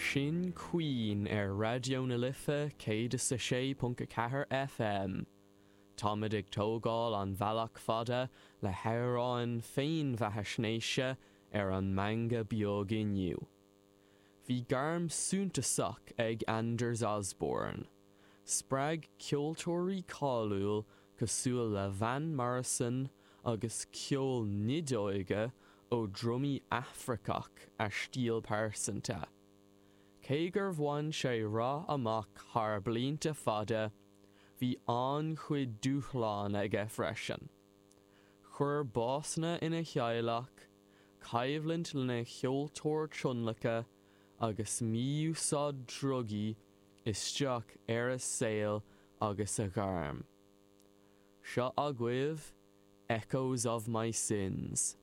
Sin Queen ar Raidió na Life 106.4 FM. Táimid ag tógáil an bhealach fada le hamhráin féinbheathaisnéise ar an meangadh beag inniu. Bhí gairm suntasach ag Anders Osborne. Spreag ceoltóirí cáiliúil cosúil le Van Morrison agus ceol nideoige ó drumaí Afracach a stíl pearsanta. Cé gur bhain sé rath amach thar blianta fada, bhí an-chuid dúshlán aige freisin. Chuir básanna ina theaghlach, coimhlint lena cheoltóir tionlacan agus mí-úsáid drugaí isteach ar a saol agus a ghairm. Seo agaibh Echoes of My Sins.